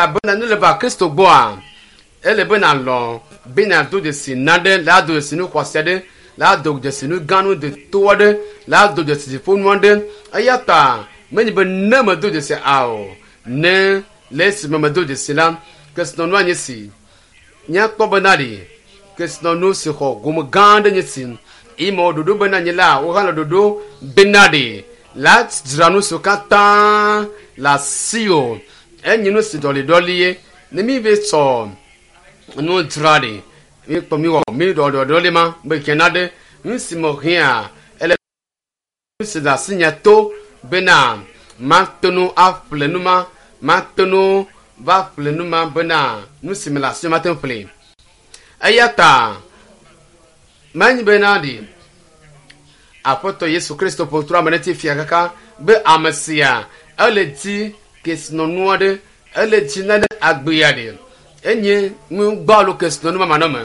Elabena ne le va Kristo gbɔa, ele be nàlɔ̃ be nàdo dzesi nane, la do dzesi nu xɔasi aɖe, la do dzesi nu gã nu deto aɖe, la do dzesi dziƒonu aɖe. Eya ta menye be ne medo dzesi ao, ne le esime medo dzesi la, kesinɔnua nye si. Míakpɔ bena ɖe kesinɔnu si xɔ gome gã aɖe nye si. Eye mewɔ ɖoɖo bena nye la, wohã le ɖoɖo bena ɖe la dzra nu siwo katã le asiwò. Enye nu si ɖɔliɖɔli ye. Ne mi ve tsɔ nu dzra ɖe, mi kpɔ mi wɔ mi ɖɔɖɔɖɔli ma be hiã ɖe nu si me hiã ele nu si le asinye to bena mate ŋu aƒle nu ma, mate ŋu va ƒle nu ma bena nu si me le asinye mate ŋu ƒle. Eya ta menye bena ɖi Aƒetɔ Yesu Kristo ƒo trɔ ame ɖe ti fia kaka be ame sia ele di kesinɔnu aɖe, ele di nane agbea ɖe. Enye nu gbalo kesinɔnu ma manɔme.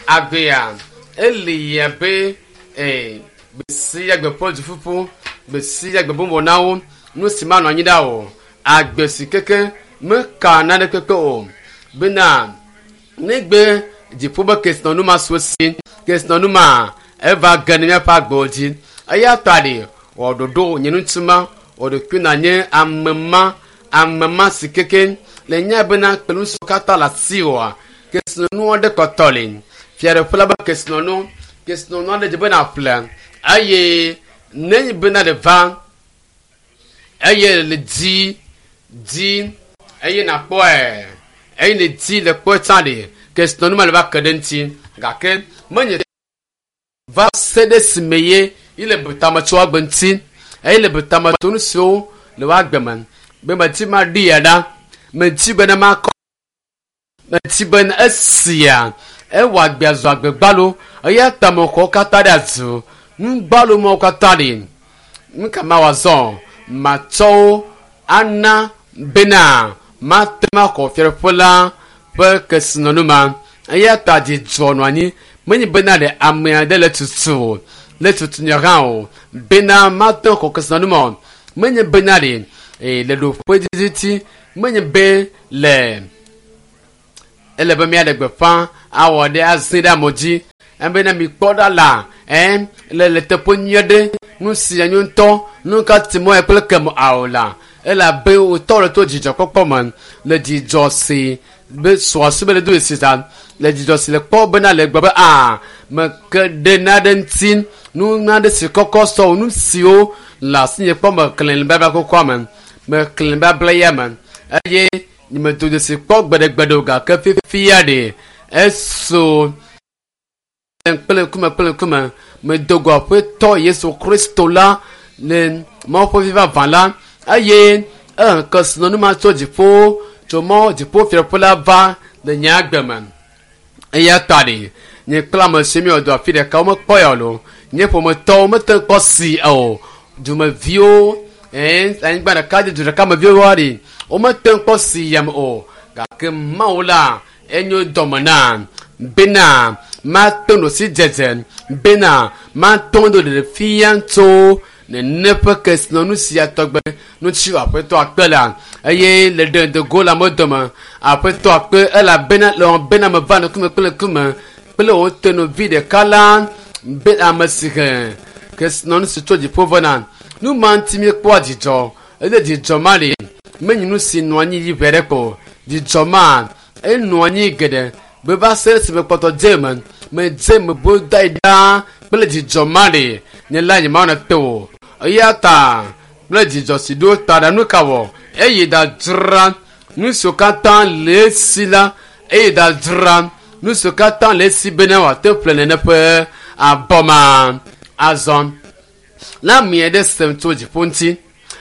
Agbea eli abe ee gbe sia gbe ƒe duƒuƒu, gbe sia gbe ƒe na wo, nu si manɔ anyi ɖa o. Agbe si keke meka nane kpekpe o. Bena negbe dziƒo be kesinɔnu ma su esi, kesinɔnu ma eva ge ɖe míaƒe agbewo dzi. Eya ta ɖe wɔ ɖoɖo nye ŋutsu ma, wɔ ɖokui nànye ame ma, ame ma si keke le nya bena kple nu siwo katã le asiwòa, kesinɔnu aɖe kpɔtɔ li. Fiaɖuƒe la be kesinɔnu, kesinɔnu aɖe dzi be nàƒle eye nenye bena ɖe va eye le di di eye nàkpɔe eye ne di le kpɔe tsã ɖe kesinɔnu ma le va ke ɖe ŋuti gake menye va se ɖe esime ye yi le tame tso agbe ŋuti eye le tame tso nu siwo le woa agbe me be medi ma ɖi ya ɖa medi bena makɔ medi bena esia ewɔ agbea zu agbe gbalo eya ta mexɔ katã ɖe azu nu gbalo mawo katã ɖi nu ka mawɔ azɔ matsɔ wo ana bena mate ŋu axɔ fiaɖuƒe la ƒe kesinɔnu ma eya ta dzidzɔ nɔ anyi menye bena ɖe ame aɖe le tutu o le tutu nye hã o bena mate ŋu axɔ kesinɔnu ma o menye bena ɖe ee le ɖoƒe didi menye be le ele be míaɖe gbeƒã awɔ ɖe azĩ ɖe amewo dzi ebena mikpɔ ɖa la ɛ le le teƒe nyui aɖe nu si anyo ŋutɔ nu ka ti mɔ kple kem ao la elabe wòtɔ le to dzidzɔkpɔkpɔ me le dzidzɔ si be sɔasi be le do esi ta le dzidzɔ si le kpɔ bena le gbe be aa meke ɖe naɖe ŋuti nu naɖe si kɔkɔ sɔ nu siwo le asinye kpɔ meklẽ le babla kɔkɔa me meklẽ babla ya me eye nyemedo dzesi kpɔ gbeɖegbeɖe o gake fifia ɖe eso kple ŋkume kple ŋkume medo go aƒetɔ Yesu Kristo la le Mawu ƒe vi vavã la eye ehe kesinɔnu ma tso dziƒo tso mɔ dziƒo fiaɖuƒe la va le nye agbe me. Eya ta ɖe nye kple ame si miewɔ dɔ afi ɖeka womekpɔ ya o lo nye ƒometɔwo mete ŋu kpɔ si o dumeviwo ee anyigba ɖeka dzi du ɖeka me viwo ɖe womete ŋu kpɔ si yam o gake Mawu la enyo dɔme na bena mato no si dzedze bena mato do ɖeɖe fia tso nene ƒe kesinɔnu sia tɔgbe ŋuti aƒetɔ akpe la eye le ɖe go le amewo dome aƒetɔ akpe elabena le wɔm bena meva ŋkume kple ŋkume kple wò tenɔvi ɖeka la be ame si he kesinɔnu si tso dziƒo vena nu ma ŋuti míekpɔa dzidzɔ eye dzidzɔ ma li menye nu si nɔ anyi yi ʋɛ ɖe ko dzidzɔ ma enɔ anyi geɖe be va se esime kpɔtɔ dze me medze me bo da yi ɖaa kple dzidzɔ ma ɖe nye la nye ma te o eya ta kple dzidzɔ si ɖo ta ɖe nu ka wɔ eye da dzra nu siwo katã le esi la eye da dzra nu siwo katã le esi bena wòate ƒle nene ƒe abɔ ma azɔ la ame aɖe sem tso dziƒo ŋuti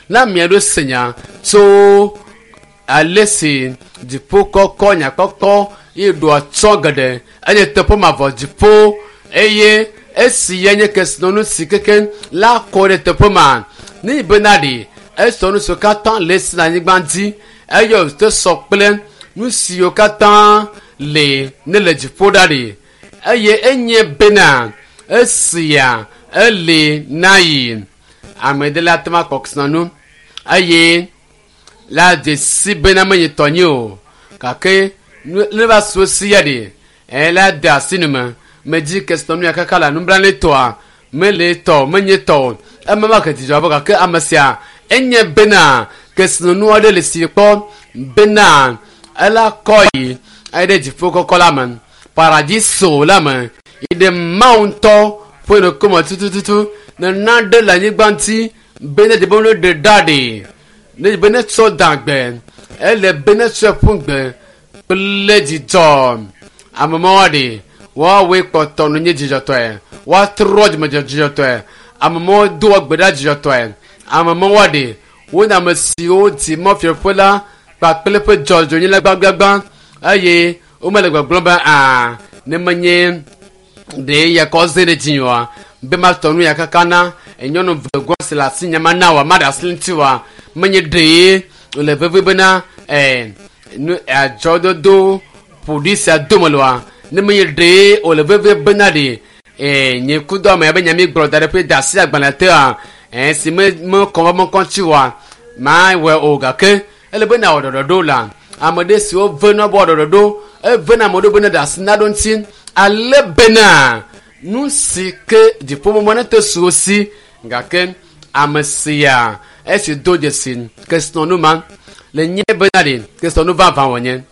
la ame aɖe se nya tso ale si dziƒo kɔkɔ nyakpɔkpɔ ye ɖo atsɔ geɖe enye teƒe mavɔ dziƒo eye esi ya nye kesinɔnu si keke la kɔ ɖe teƒe ma ne bena ɖe esɔ nu siwo katã le esi le anyigba dzi eye wòte sɔ kple nu siwo katã le ne le dziƒo ɖa ɖe eye enye bena esia ele na yi ame ɖe la te ma kpɔ kesinɔnu eye la dzesi bena menye tɔnye o. Gake ne va su si ya ɖe, ela de asi nu me. Medzi kesinɔnu ya kaka la nublanuitɔa mele tɔ menye tɔ o. Ema ma ke dzidzɔ abɔ gake ame sia enye bena kesinɔnu aɖe le si kpɔ bena ela kɔ yi ayi ɖe dziƒo kɔkɔ la me, paradiso la me, yi ɖe Mawu ŋutɔ ƒe ŋkume tutututu. Nena ɖe le anyigba ŋuti be ne dzi be ne ɖe ɖa ɖe, ne dzi be ne tsɔ da gbe, ele be ne tsɔe ƒu gbe kple dzidzɔ. Ame mawo ɖe woawoe kpɔtɔ nu nye dzidzɔtɔe, woatrɔ dzime dzidzɔtɔe. Ame mawo doa gbe ɖa dzidzɔtɔe. Ame mawo ɖe wonye ame siwo di mɔfiaƒe la kpakple eƒe dzɔdzɔenyenye la gbãgbãgbã eye womele gbɔgblɔm be aa ne menye ɖe ya kɔ ze ɖe dzi oa be matɔ nu ya kaka na nyɔnu vegɔ si le asi nye mana oa maɖe asi ŋuti oa menye ɖee wòle vevie bena nu adzɔdodo ƒoɖi sia dome loa ne menye ɖee wòle vevie bena ɖe nye kudo ame ya be nyami gblɔ da ɖe ƒe da asi agbalẽ tea si me mekɔ va mekɔ ŋuti oa mawɔe o gake ele be nawɔ ɖɔɖɔɖo la ame ɖe siwo vena bɔ ɖɔɖɔɖo evena ame ɖewo bena ɖe asi na ɖo ŋuti ale bena nu si ke dziƒomɔmɔ ne te su wo si gake ame sia esi do dzesi kesinɔnu ma le nye bena ɖe kesinɔnu vavã wònye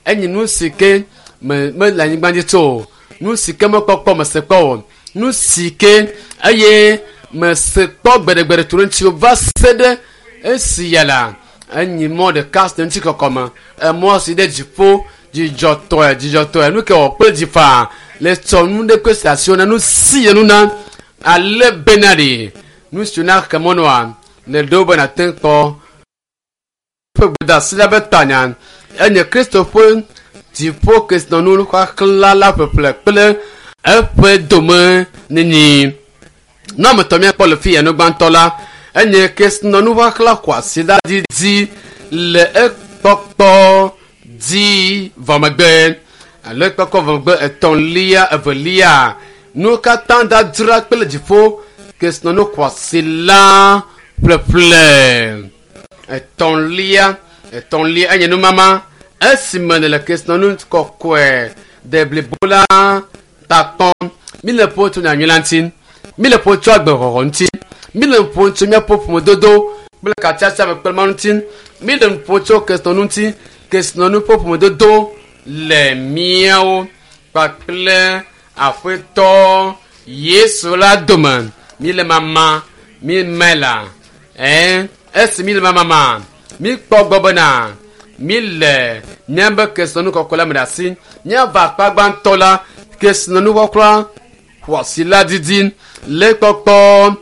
enye nu si ke me mele anyigba dzi tso o nu si ke mekpɔkpɔ mese kpɔ o nu si ke eye mese kpɔ gbeɖegbeɖe tu ɖe ŋuti o va se ɖe esi ya la enyi mɔ ɖeka si le ŋuti kɔkɔme emɔ si ɖe dziƒo dzidzɔtɔe dzidzɔtɔe nu ke wɔ kple dzi faa le tsɔ nu ɖe kpe si asiwo na nu si nu na ale bena ɖe nu si na xe mɔnua le ɖewo be nate kpɔ ƒe gbedeasi la be tanya enye Kristo ƒe dziƒo kesinɔnu xaxla la ƒeƒle kple eƒe dome nini. Ne ame tɔ míakpɔ le fi ya nu gbãtɔ la enye kesinɔnu xaxla xɔasi la didi le ekpɔkpɔ dzi vɔ megbe alo ekpɔkpɔ vɔ megbe etɔ̃lia evelia nu katã dadzra kple dziƒo kesinɔnu xɔasi la ƒleƒle. Etɔ̃lia etɔ̃lia enye numama esime nele kesinɔnu kɔkɔe de blibo la ta kpɔm. Mi le ƒo tso nyanyui la ŋuti, mi le ƒo tso agbexɔxɔ ŋuti, mi le ƒo tso míaƒe ƒomedodo kple katsiatsia me kple Mawu ŋuti, mi le ƒo tso kesinɔnu ŋuti, kesinɔnu ƒe ƒomedodo le míawo kpakple Aƒetɔ Yesu la dome. Mi le mama mi me la esi mi le mama mi kpɔ gbɔ bena mi le míaƒe kesinɔnu kɔkɔe la me ɖe asi. Míava akpa gbãtɔ la kesinɔnu kɔkɔe xɔasi la didi le kpɔkpɔ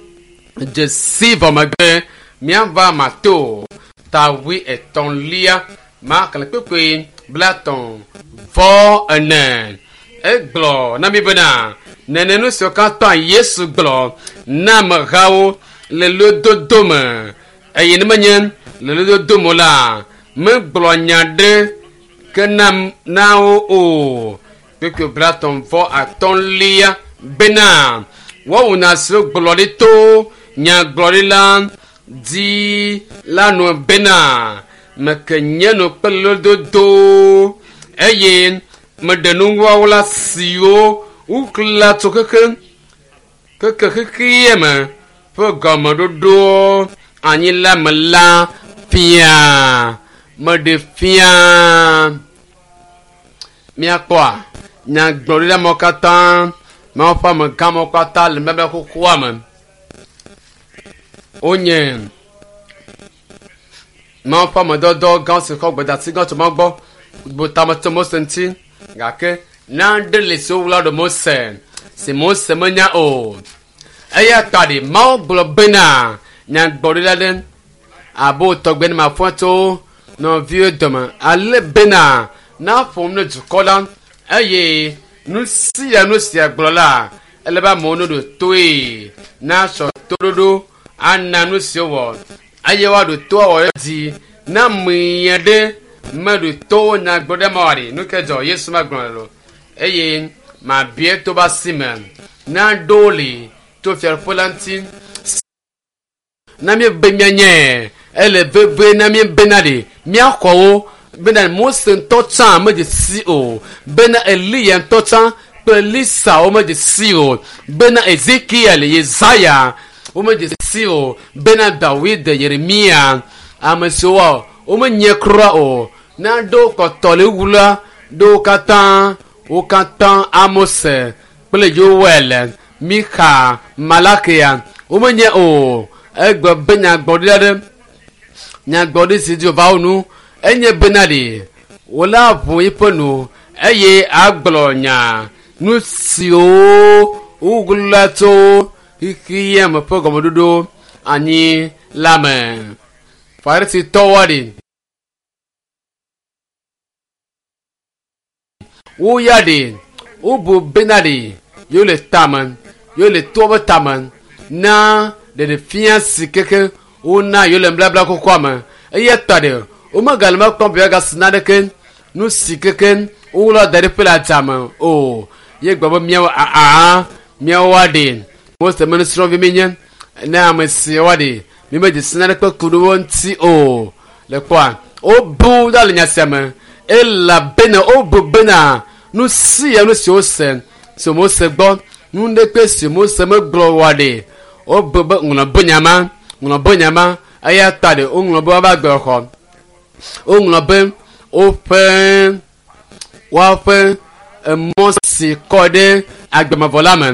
dzesi vɔ megbe. Míava Mateo ta 33 maxlẽ kpekpe 34. Egblɔ na mi bena nene nu siwo katã Yesu gblɔ na amehawo le lododo me eye ne menye le lododo me la megblɔ nya ɖe ke na wo o. Kpekpe 35 bena woawu nya siwo gblɔ ɖi to nyagblɔɖila dzi la nu bena meke nye nu kple lododo eye meɖe nuwɔwɔla siwo wokla tso keke keke xexea me ƒe gɔmeɖoɖo anyi la me la fia meɖe fia. Míakpɔa nyagblɔɖila mawo katã Mawu ƒe amegã mawo katã le nubabla xoxoa me. Wonye Mawu ƒe amedɔdɔ gã si xɔ gbedeasi gã tso Mawu gbɔ bu tame tso Mose ŋuti gake nane le si wowla ɖe Mose si Mose menya o. Eya ta ɖe Mawu gblɔ bena nyagblɔɖila ɖe abe wo tɔgbe ne mafɔ tso nɔviwo dome ale bena naƒom ne dukɔ la eye nu sia nu sia gblɔ la ele be amewo ne ɖo toe nasɔ toɖoɖo ana nu si wowɔ eye woaɖo to awɔ edzi na amea ɖe meɖo to nyagblɔɖi ma wɔɖi nu ke dzɔ Yesu magblɔ lo eye mabia to be asi me na ɖo li tso fiaɖuƒe la ŋuti na míebe míanye ele vevie na míebena ɖe míaxɔ wo Bena Mose ŋutɔ tsã medze si o. Bena Eliya ŋutɔ tsã kple Elisa womedze si o. Bena Ezekiel, Yesaya womedze si o. Bena Dawid, Yeremia, ame siwo womenye kura o. Ne aɖewo kpɔtɔ le wu la, ɖewo katã wo katã Amose kple Yoel, Mixa, Malakia womenye o. Egbe be nyagblɔɖi aɖe nyagblɔɖi si dzi wòva wo nu enye bena ɖe wòla ʋu eƒe nu eye agblɔ nya nu siwo wogblɔ tso xexea me ƒe gɔmeɖoɖo anyi la me. Farisitɔwo ɖe woya ɖe wobu bena ɖe yewo le tame yewo le toa ƒe tame na ɖeɖefia si keke wona yewo le nubabla xoxoa me eya ta ɖe womegale me kpɔm be yewoagasi naneke nu si keke woɣla da ɖi ƒe le adzame o ye gblɔ be míawo aa míawo aɖe Mose me nusrɔ̃vi míenye ne ame si woaɖe mímedze si naneke ku ɖe wo ŋuti o le kpɔa wobu ɖa le nya sia me elabena wobu bena nu sia nu si wose si Mose gbɔ nu ɖekpe si Mose megblɔ oa ɖe wobu be ŋlɔ be nya ma ŋlɔ be nya ma eya ta ɖe woŋlɔ be woava gbe xɔ woŋlɔ be woƒe woaƒe emɔ si kɔ ɖe agbemavɔ la me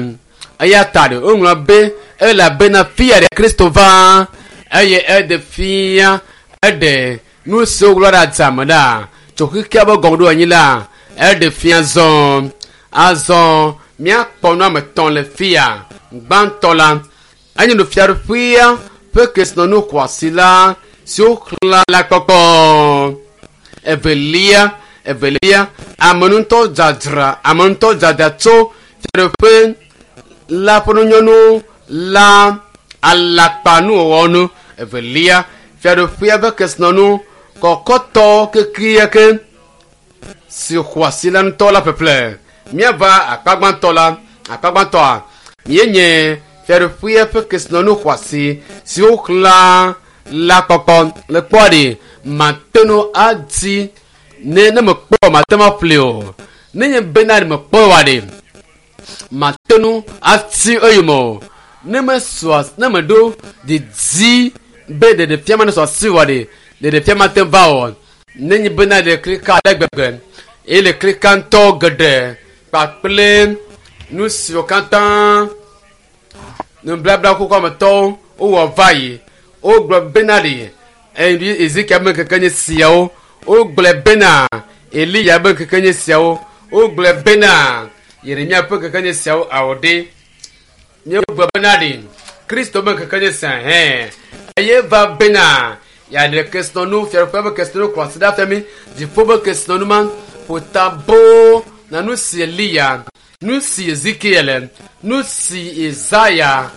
eya ta ɖe woŋlɔ be elabena fia ɖe Kristo va eye eɖe fia eɖe nu siwo wogblɔ ɖe adzame ɖa tso xexea ƒe gɔmeɖoanyi la eɖe fia zɔ azɔ míakpɔ nu ame etɔ̃ le fia gbãtɔ la enye nu fiaɖuƒea ƒe kesinɔnu xɔasi la siwo xlã la kpɔkpɔ evelia evelia ame ŋutɔ dzadzra ame ŋutɔ dzadzra tso fiaɖuƒe la ƒe nunyɔnu la alakpanuwɔwɔ nu evelia fiaɖuƒea ƒe kesinɔnu kɔkɔtɔ kekeake si xɔasi la ŋutɔ la ƒeƒle míava akpa gbãtɔ la akpa gbãtɔa míenye fiaɖuƒea ƒe kesinɔnu xɔasi siwo xlã la kpɔkpɔ le kpɔa ɖe mate ŋu adi ne ne mekpɔ mate ŋu aƒle o ne nye bena ɖe mekpɔ oa ɖe mate ŋu ati eyome o ne mesɔ ne meɖo didi be ɖeɖefia ma ne sɔ asi oa ɖe ɖeɖefia ma te va o ne nye bena ɖe klika ale gbegbe eye le klika ŋutɔ geɖe kpakple nu siwo katã nublabla xoxoa me tɔwo wowɔ va yi wogblɔ bena ɖe Ezekiel be ŋkeke nye siawo wogblɔ bena Eliya be ŋkeke nye siawo wogblɔ bena Yeremia ƒe ŋkeke nye siawo awɔ ɖe míegblɔ bena ɖe Kristo be ŋkeke nye sia hɛ eye va bena yeaɖe kesinɔnu fiaɖuƒea ƒe kesinɔnu kɔ asi ɖe afia mi dziƒo ƒe kesinɔnu ma ƒo ta boo na nu si Eliya nu si Ezekiel nu si Yesaya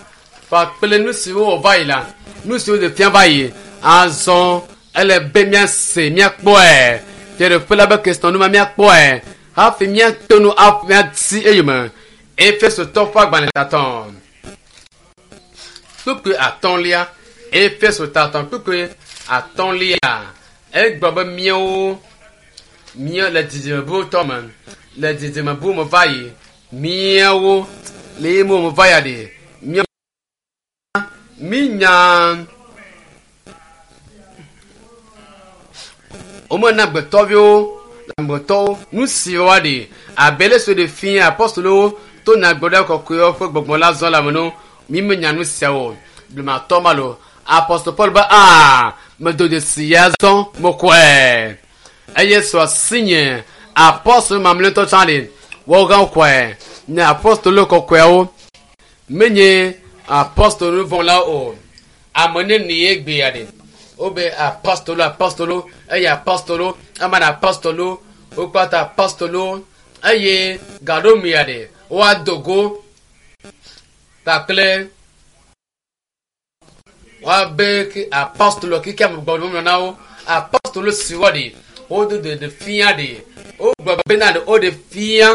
kpakple nu si wowɔ va yi la nu si woɖe fia va yi azɔ ele be míase míakpɔe fiaɖuƒe la be kesinɔnu ma míakpɔe hafi míate ŋu míati eyome Efesotɔ ƒe agbalẽ tatɔ kpukpui atɔ̃lia Efeso tatɔ kpukpui atɔ̃lia egblɔ be míawo mía le dzidzime bu tɔ me le dzidzime bu me va yi míawo le ye me va ya ɖe mía mínya womena agbetɔviwo agbetɔwo nu si woaɖe abe le so ɖe fia apɔstolowo to nyagblɔɖia kɔkɔewo ƒe gbɔgbɔ la zɔ la me no mímenya nu siawo blematɔ ma lo apɔstol Paul be aa medo dzesi ya zɔ mekɔe eye sɔ asi nye apɔstol mamlɛtɔ tsã ɖe wɔgã kɔe nye apɔstolo kɔkɔeawo menye apɔstol nuvɔ̃lawo o ame neni ye gbea ɖe wobe apɔstolo apɔstolo eye apɔstolo ema na apɔstolo wokpata apɔstolo eye gaɖomia ɖe woado go kpakple woabe ke apɔstolo keke ame gbɔ ŋlɔ na wo apɔstolo siwo ɖe wodo ɖe fia ɖe wogblɔ bena ɖe woɖe fia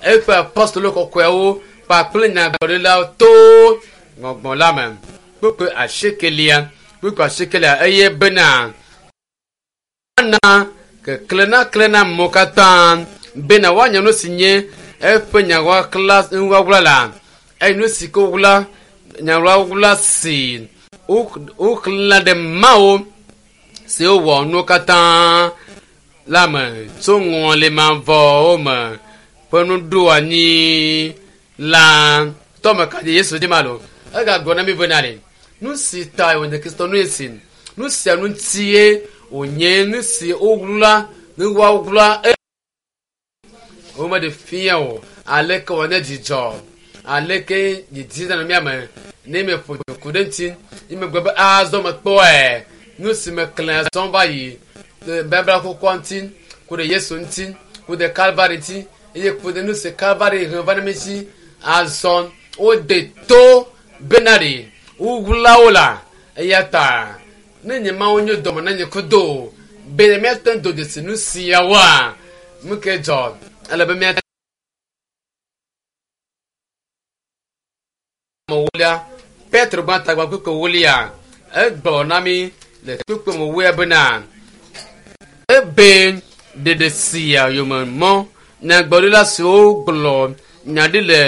eƒe apɔstolo kɔkɔeawo kpakple nyagblɔɖilawo to gbɔgbɔ la me kpukpui asiekelia kpukpui asiekelia eye bena ana Keklẽ naklẽ na amewo katã bena woanya nu si nye eƒe nyaɣaɣla nuɣaɣla la eye nu si ke woɣla nyaɣaɣla si woxlẽna ɖe Mawu si wowɔ nuwo katã la me tso ŋɔlimavɔwo me ƒe nuɖoanyi la tɔme ka dzi Yesu dzi ma lo. Egagblɔ na mi bena ɖe nu si ta wònye Kristo nu si nu sia nu ŋutie wònye nu si woɣla nuɣaɣla womeɖe fia o aleke wòanye dzidzɔ aleke didi nɔ mía me ne meƒo ku ɖe ŋuti yi megbe be azɔ mekpɔe nu si meklẽ azɔ va yi babla xoxoa ŋuti ku ɖe Yesu ŋuti ku ɖe Kalvari ŋuti eye ku ɖe nu si Kalvari he va na mi ŋuti azɔ wode to bena ɖe woɣla wo la eya ta ne nye Mawu nye dɔme na nye kudo be míate ŋu do dzesi nu siawoa nu ke dzɔ ele be míate ewolia Petro gbã tagba kpukpui ewolia egblɔ na mi le kpukpui ewolia bena ebe ɖeɖe sia yome mɔ nyagblɔɖila siwo gblɔ nya ɖi le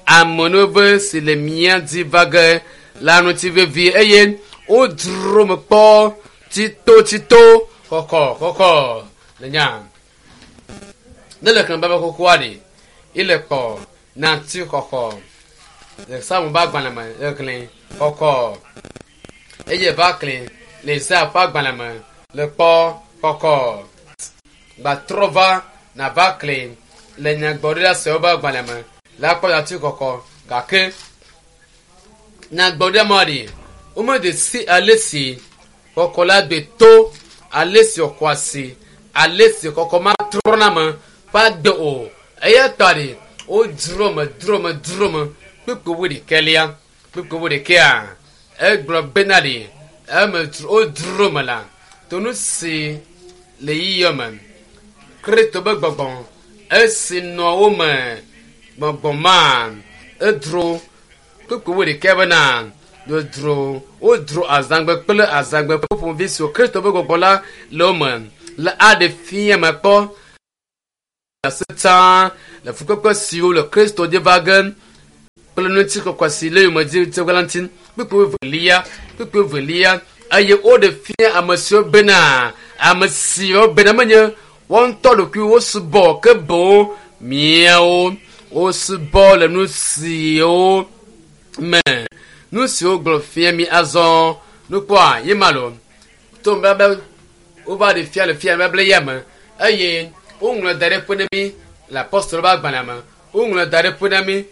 amenuveve si le mía dzi va ge la ŋuti vevie eye wodzro me kpɔ tsitotsito kɔkɔkɔkɔ le nya ne le xlẽ baba xoxoa ɖi ile kpɔ nati xɔxɔ le Psalmo ƒe agbalẽ me le xlẽ kɔkɔ eye va xlẽ le Isaya ƒe agbalẽ me le kpɔ kɔkɔ gbatrɔ va nava xlẽ le nyagblɔɖila siawo ƒe agbalẽ me la kpɔ nati xɔxɔ gake nyagblɔɖila ma ɖi womede si ale si kɔkɔ la gbe to ale si xɔ asi ale si kɔkɔ ma trɔna me ƒe agbe o eya ta ɖi wodzro me dzro me dzro me kpukpui wuiɖekɛlia kpukpui wuiɖekɛa egblɔ bena ɖi eme wodzro me la to nu si le yiyɔ me Kristo be gbɔgbɔ esi nɔ wo me gbɔgbɔ ma edro kpukpui wuiɖekɛ bena wodzro wodzro azãgbe kple azãgbe ƒe ƒomevi siwo Kristo be gbɔgbɔ la le wo me le aɖe fia me kpɔ asetsã le fukpekpe siwo le Kristo dzi va ge kple ŋutikɔkɔe si le yome dzi tse la ŋuti kpukpui evelia kpukpui evelia eye woɖe fia ame siwo bena ame siwo bena menye woa ŋutɔ ɖokui wosubɔ ke boŋ miawo wosubɔ le nu siwo me nu siwo gblɔ fia mi azɔ nukpɔa ye ma lo to be wova ɖe fia le fia bable ya me eye woŋlɔ da ɖe ƒe na mi le apostolo ƒe agbalẽ me woŋlɔ da ɖe ƒe na mi